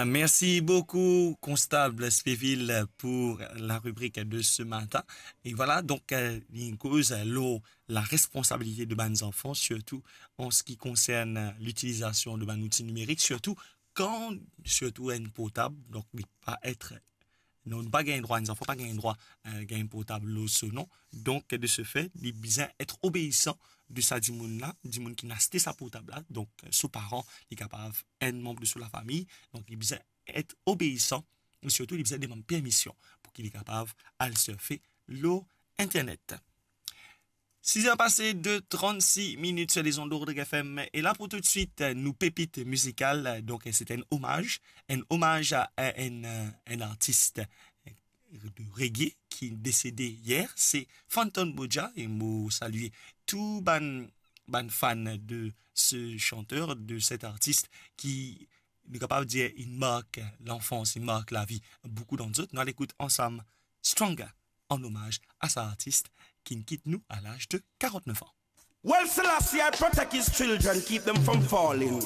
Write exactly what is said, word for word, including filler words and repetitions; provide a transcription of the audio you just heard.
Merci beaucoup, Constable Spéville, pour la rubrique de ce matin. Et voilà, donk, euh, li koz, euh, lor la responsabilité de bann zanfan, sirtou an se ki konsern, euh, litilizasyon de bann zouti nimerik, sirtou kan, sirtou enn portab, donk li pa et, non, nou pa gagn drwa, enn zanfan pa gagn drwa, euh, gagn portab lor so non. Donk, de ce fait, li bizin et obeisan de sa dimoun la, dimoun ki inn aste sa portab la. Donk, euh, so paran, li kapav enn manb de so lafami, donk li bizin et obeisan, e sirtou li bizin demann permision pou ki li kapav al surfe lor internet. Sizè pase de trannsis minit sur les ondes de Rodrigue F M. E la pou toutswit, nou pepit mizikal, donk se enn omaz, enn omaz a enn, enn artis de reggae ki desede yer, se Fantan Mojah, e mo salie tou bann, bann fan de se chanteur, de set artis ki, nou kapav dir, inn mark lanfans, inn mark lavi boukou dan zot. Nou al ekout ansam Stronger, an omaz a sa artis ki'nn kit nou a laz de karant-nef an. Well, Selassie I protect his children, keep them from falling.